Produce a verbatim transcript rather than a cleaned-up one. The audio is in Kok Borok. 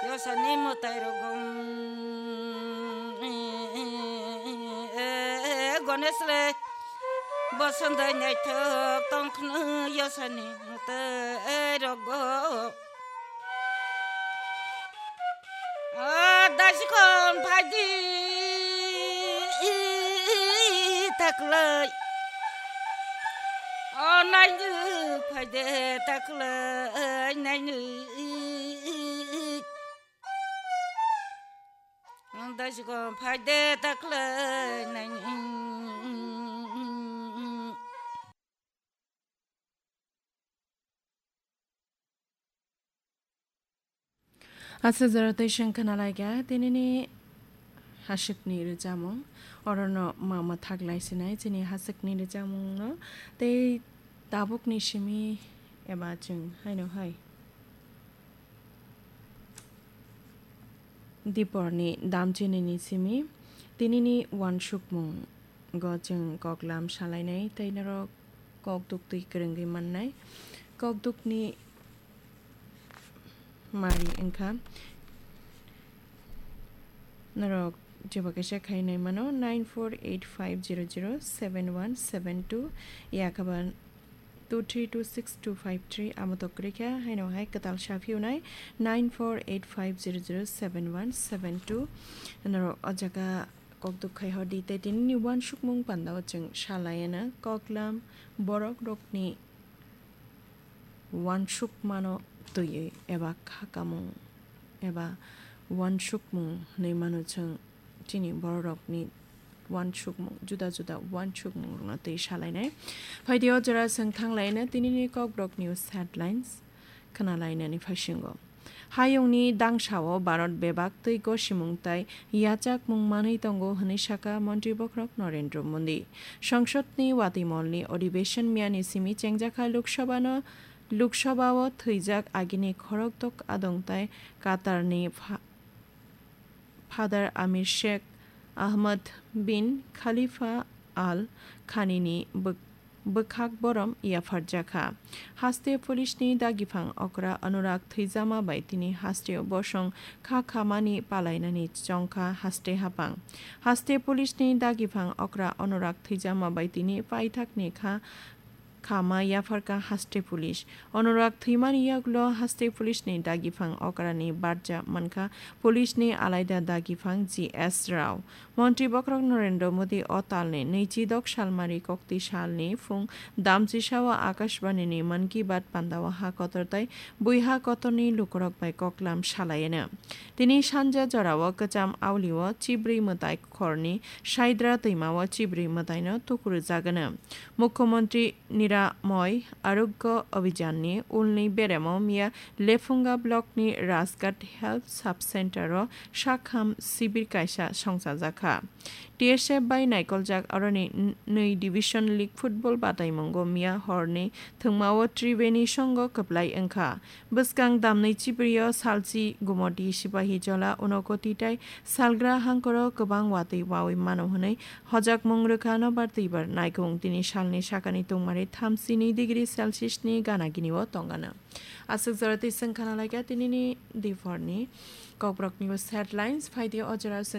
Yosani mwtai rok gom, Ganesh le bosondai naithok tongkhwno yosani mwtai rok go. O dasikon phaidi taklai. O naini phaide taklai naini. Dasikon phaide taklai naini. Aswk jora twi chwng khna lai kha tinini haswkni rwchapmung. Orono ma mwthak lai sinai chini haswkni rwchapmungno tei tabukni simi eba chwng haino hai. Diporni damchinini simi tinini uansukmungo chwng koklam salainai tei norok kok duktwi kwrwngwi mannai. Kok dukni mari wngkha norok jeba kaisa khainai mano nine four eight five zero zero seven one seven two, yakhaba two three two six two five three, amo to kwrwi kha, haino hai kwtal sa phiyunai nine four eight five zero zero seven one seven two. Norok o jaga kok duk khai hor di, tei tinini uansukmung pandao chwng sa lai anw, koklam borok rokni uansukmano twiwi eba khakamung eba uansukmung hwnwi mano chwng. Chini bororokni uansukmung, juda juda uansukmungrokno twi salainai. Phaidi o jora chwng thanglaina tinini Kokborok News Headlines khna lainani phaisingo. Hayungni dangsao Bharat bebak twi gosimung tai yachakmung manwi tongo hwnwi sakha Montri Bokhorok Narendra Modi. Songsodni watwi molni odhibeshon miyani simi chengjakha Lok Sabhano, Lok Sabhao thwijak agini khorokdok adong tai Qatarni pha-, Father Amir Sheikh Ahmed bin Khalifa Al Thanini bw-, bwkhak borom yapharjakha. Haste police ni dagiphang okra Anurag thwijama bai tini hasteo bosong kha khamani palainani chongkha haste haphang. Haste police ni dagiphang okra Anurag thwijama bai tini paithakni kha khama yapharkha haste police. Anurag thwimani yagulo haste police ni dagiphang okrani barja mankha police ni alaida dagiphang G S Rao. Montri Bokhorok Narendra Modi o talni nwichidok salmari kokti salni phung damchisao Akashbani ni Mann Ki Baat pandao ha kotor tai bui ha kotorni lukurok bai koklam salaiyano. Tini sanja jorao kwcham aulio chibrwi mwtai khorni Saidra twimao chibrwi mwtaino tukurjagano. Mukhyamantri Niramoy Arogya Abhiyan ni ulni beremo miya Lephunga block ni Rajghat Health Sub Center o sakham sibir kaisa songchajakha. T S F bai naikoljak aroni n-, nwi Division League football bataimungo miya horni thwngmao Tribeni songo kwplai wngkha. Bwskang damni chibrio salchi Gumoti Sipahijola Unakoti tai salgra hangkoro kwbang watwi wawi mano hwnwi hojakmung rwkha nobar twibar naikung. Tini salni sakani tungmari thamsini degree Celsius ni gana gini o tongano. Aswk jora twi chwng khana laikha tinini diphorni Kokborok News Headlines. Phaidi o jora chwng